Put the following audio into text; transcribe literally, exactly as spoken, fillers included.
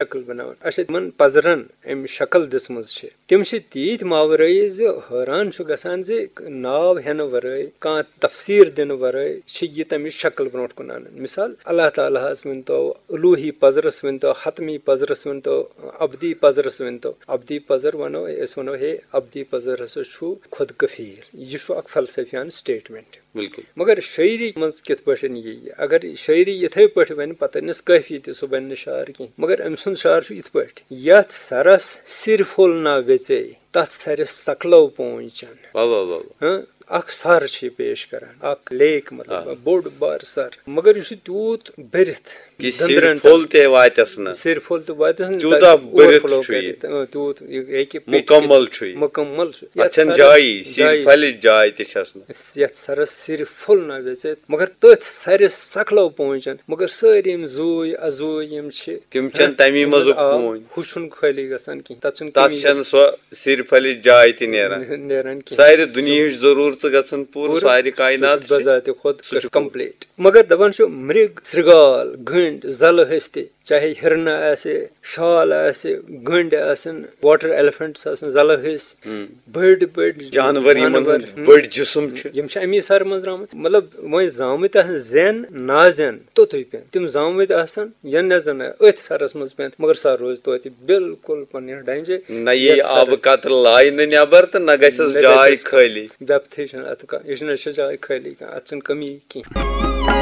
شکل بناوان۔ اچھا، تِمن پزرن أمۍ شکل دِژمٕژ چھِ، تِم چھِ تیٖتۍ ماورٲیی زِ حٲران چھُ گژھان زِ ناو ہٮ۪نہٕ ورٲے، کانٛہہ تفسیٖر دِنہٕ ورٲے چھِ یہِ تَمِچ شکل برونٛٹھ کُن اَنان۔ مثال، اللہ تعالیٰ ہَس ؤنۍتو، الوٗہی پزرس ؤنۍتو، حتمی پزرس ؤنۍتو، ابدی پزرس ؤنۍتو۔ ابدی پزر وَنو، أسۍ وَنو، ہے، ابدی پزر ہسا چھُ خود کفیل۔ یہِ چھُ اکھ فلسفیانہٕ statement۔ بالکل۔ مگر شٲعری منٛز کِتھ پٲٹھۍ یی یہِ؟ اگر شٲعری یِتھے پٲٹھۍ وَنہِ، پَتہٕ أنِس کٲفی تہِ، سُہ بَنہِ نہٕ شعر کینٛہہ۔ مگر أمۍ سُنٛد شعر چھُ یِتھ پٲٹھۍ، یَتھ سَرَس سِر پھوٚل نا ویژے، تَتھ سَرِ سَکلو پونٛچَن۔ واہ واہ واہ واہ۔ ہاں، اکھ سر چھُ یہِ پیش کران، اکھ لیک، مطلب آ۔ بوٚڑ بار سر، مگر یہِ چھُ تیوٗت بٔرِتھ کہِ سِر دٔنٛدرَن پھوٚل تل۔ تہِ واتٮ۪س نہٕ۔ سِر پھوٚل تہِ واتٮ۪س نہٕ، تیوٗتاہ تَتہِ بٔرِتھ overflow چھُ یہِ۔ کٔرِتھ، اۭں، تیوٗت یہِ ہیٚکہِ پیٚٹھۍ مُکمل کھٔسِتھ۔ چھُ یہِ۔ مُکمل چھُ۔ اَتھ چھَنہٕ سرس جایی، سِر جایی۔ پھلِچ جاے تہِ چھَس نہٕ۔ یَتھ سرس سِر پھوٚل نہ ویژے، مگر تٔتھۍ سرِ سکلو پونٛچَن، مگر سٲری یِم زوٗے ازوٗے یِم چھِ، تِم چھَنہٕ تَمی منٛزُک آب، پونۍ۔ ہُہ چھُنہٕ خٲلی گژھان کِہیٖنۍ، تَتھ چھُنہٕ تَتھ کمی چھَنہٕ سۄ سِر پھلِچ جاے تہِ نیران۔ گژھان۔ نیران کِہیٖنۍ۔ سارِ دُنیہٕچ ضروٗرژٕ گژھن پوٗرٕ، پوٗرٕ۔ سارِ کائنات سُہ چھُ چھِ۔ بذاتِ خود سُہ چھُ complete۔ مگر دَپان چھُ، مرگ، سرگال، گٔنٛڈۍ، زَلہٕ ہستی، چاہے ہِرنہٕ آسہِ، شال آسہِ، گٔنٛڈۍ آسن، water elephants آسن، زَلہٕ ہسۍ، ہُم۔ بٔڑۍ بٔڑۍ جانور یِمن جانور، ہُنٛد ہُم۔ بٔڑۍ جسم چھِ۔ یِم چھِ اَمی سرٕ منٛز درٛامٕتۍ۔ مطلب، وۄنۍ زامٕتۍ آسن زٮ۪ن نازٮ۪ن توٚتُے پٮ۪ن۔ تِم زامٕتۍ آسن یا نہ زَن أتھۍ سرس منٛز پٮ۪ن، مگر سر روزِ توتہِ بالکل پننہِ ڈنجہِ۔ نہ یی یَتھ آبہٕ سرس۔ قطرٕ لاینہٕ نٮ۪بر تہٕ نہ گژھٮ۪س نہ جاے گژھٮ۪س خٲلی۔ depth ہٕچ چھَنہٕ اَتھ کانٛہہ، یہِ چھُنہٕ، یہِ چھِ جاے خٲلی کانٛہہ، اَتھ چھَنہٕ کمی کینٛہہ۔